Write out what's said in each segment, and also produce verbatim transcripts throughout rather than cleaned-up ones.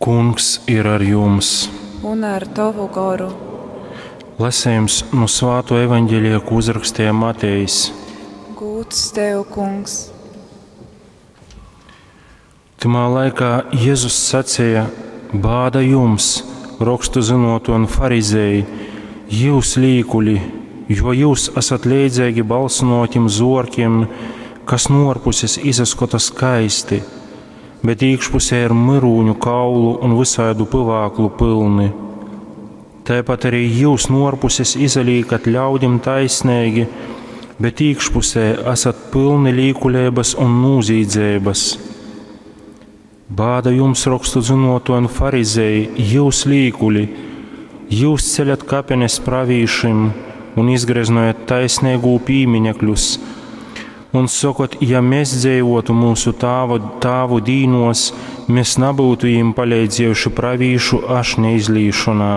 Kungs ir ar jums! Un ar tovu goru. Lasējums nu Svāto evaņģēlija, ko uzrakstīja Matejs. Gūds tev, Kungs! Tymā laikā Jēzus sacīja: Bāda jums, rokstu zinotu un farizēji, jūs līkuļi, jo jūs esat leidzīgi balsinotim zorkiem, kas no ārpuses izaskota skaisti, bet iekšpusē ir myrūņu kaulu un visādu pivāklu pilni. Tāpat arī jūs no ārpuses izalīkat ļaudim taisnīgi, bet iekšpusē esat pilni līkuļības un nūzīdzības. Bāda jums, rokstu zinoto un farizēji, jūs līkuļi, jūs ceļat kapenes pravīšim un izgreznojat taisnīgū pīmiņekļus, un sakot, ja mēs dzīvotu mūsu tāvu, tāvu dīnos, mēs nebūtu viņiem palīdzējuši pravīšu ašņa izlīšanā.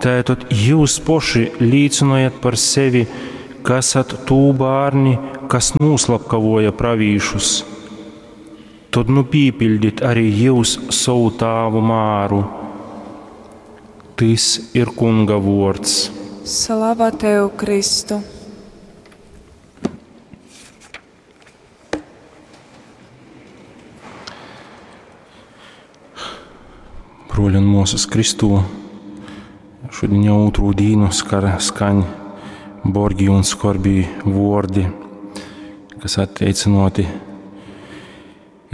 Tātad jūs poši līcinojat par sevi, ka esat tū bārni, kas noslapkavoja pravīšus. Tad nu pīpildit arī jūs savu tāvu māru. Tis ir Kunga vords. Slava tev, Kristu! Bruoļi un muosys Kristū, šodien jau ūtrū dīnu skar, skaņ borgi un skorbī vordi, kas atteicinoti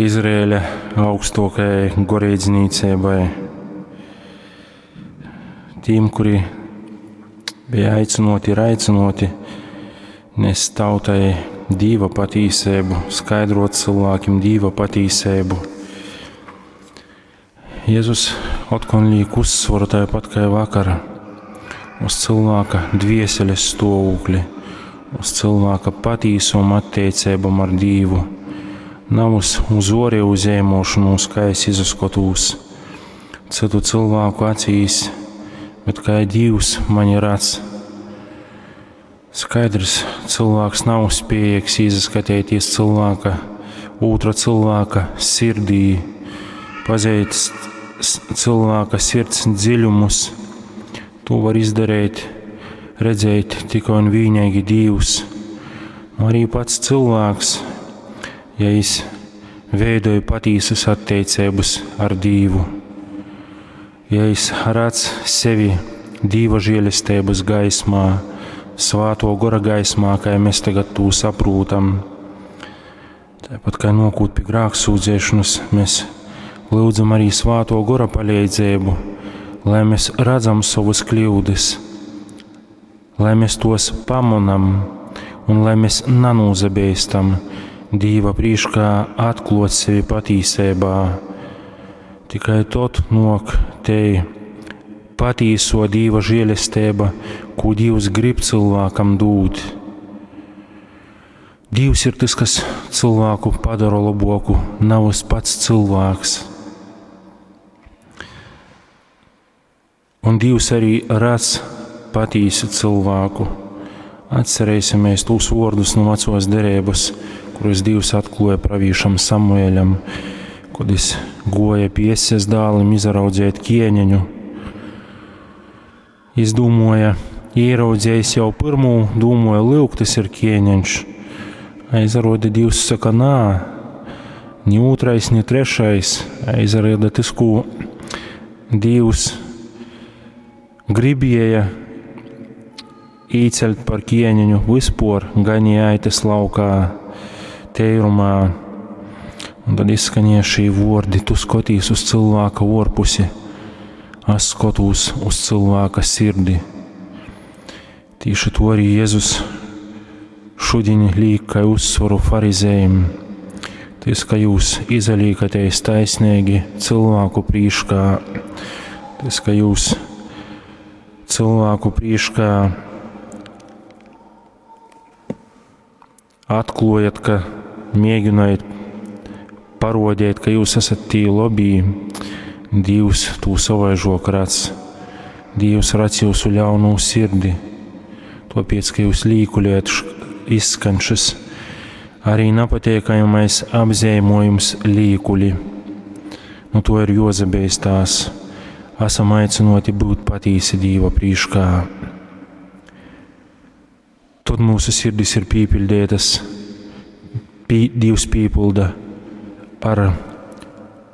Izraēļa augstākajai goreidznīcībai. Tiem, kuri bija aicinoti, ir aicinoti nest tautai Dīva patīsību, skaidrot cilvēkiem Dīva patīsību. Jēzus otkon liek uzsvaru tāpat kā vakar uz cilvēka dvieseles stāvokli, uz cilvēka patīsumu attiecībām ar Dievu, nav uz, uz orēju zēmošanos, kā es izaskotūs citu cilvēku acīs, bet kā Dievs mani redz. Skaidrs, cilvēks nav spējīgs izaskatīties cilvēka, otra cilvēka sirdī, pazīt cilvēka sirds dziļumus. To var izdarīt, redzēt tikai un vienīgi Dievs. Nu, arī pats cilvēks, ja es veidoju patīsas attiecības ar Dievu, ja es redz sevi Dieva žēlestības gaismā, Svāto gora gaismā, kā mēs tagad to saprotam. Tāpat kā nokūt pie grēksūdzēšanas, mēs lūdzam arī Svāto gora palīdzību, lai mēs redzam savas kļūdas, lai mēs tos pamonam un lai mēs nanūzabeistam Dīva prīškā atklot sevi patīsībā. Tikai tot nok te patīso Dīva žēlestība, ko Dievs grib cilvēkam dūt. Dievs ir tas, kas cilvēku padara laboku, nav pats cilvēks. Un Dievs arī redz patīsu cilvēku. Atcerēsimies tos vārdus no vecos derības, kurus Dievs atklāja pravīšam Samuēļam, kad es goja pie Jeses dālim izraudzēt ķieņeņu. Izdūmoja, ieraudzējis jau pirmo, dūmoja, lūk, tas ir ķieņeņš. Aizrauda Dievs saka, nā, ni otrais, ni trešais. Aizrauda tas, ko Dievs gribēja īceļt par ķieņeņu vispār ganīja aitas laukā, teirumā. Un tad izskanēja šī vordi, tu skatīs uz cilvēka orpusi, es skatos uz cilvēka sirdi. Tīši to arī Jēzus šodien liek kā uzsvaru farizējiem. Tas, ka jūs izalīkaties taisnīgi cilvēku prīškā, tas, ka jūs cilvēku prīškā atklājat, ka mēģinājat parodēt, ka jūs esat tī lobī, Dievs tū savaižok redz. Dievs redz jūsu ļaunu sirdi. Tāpēc, ka jūs līkuļojat, izskan šis arī napatiekamais apzīmējums līkuļi. Nu to ir juozabeistās. Esam aicynoti būt patīsi Dīva prīškā. Tod mūsu sirdis ir pīpiļdeitas, pī, Dīvs pīpilda ar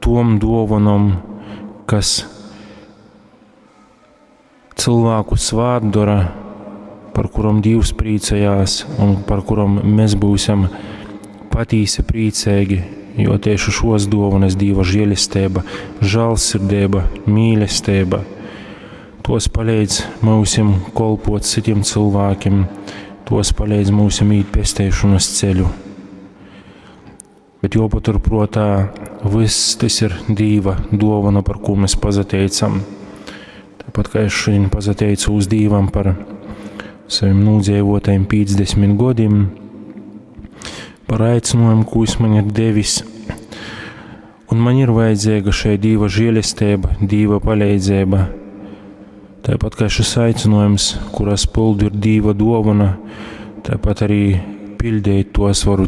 tom duovanom, kas cilvēku svātdora, par kurom Dīvs priecājās un par kurom mēs būsim patīsi priecīgi, jo tieši šos dovanas Dīva žēlestība, žēlsirdība, mīlestība, tos palīdz mūsim kolpot citiem cilvēkiem, tos palīdz mūsim īt pesteišanas ceļu. Bet jopaturprātā, viss tas ir Dīva dovana, par ko mēs pazateicam. Tāpat kā es šodien pazateicu uz Dīvam par saviem nūdzīvotajiem piecdesmit gadiem, par aicinājumu, ko viņš man ir devis. Un man ir vajadzīga šai Dīva žēlestība, Dīva palīdzība. Tāpat kā šis aicinājums, kuras pildu ir Dīva dovana, tāpat arī pildīt tos varu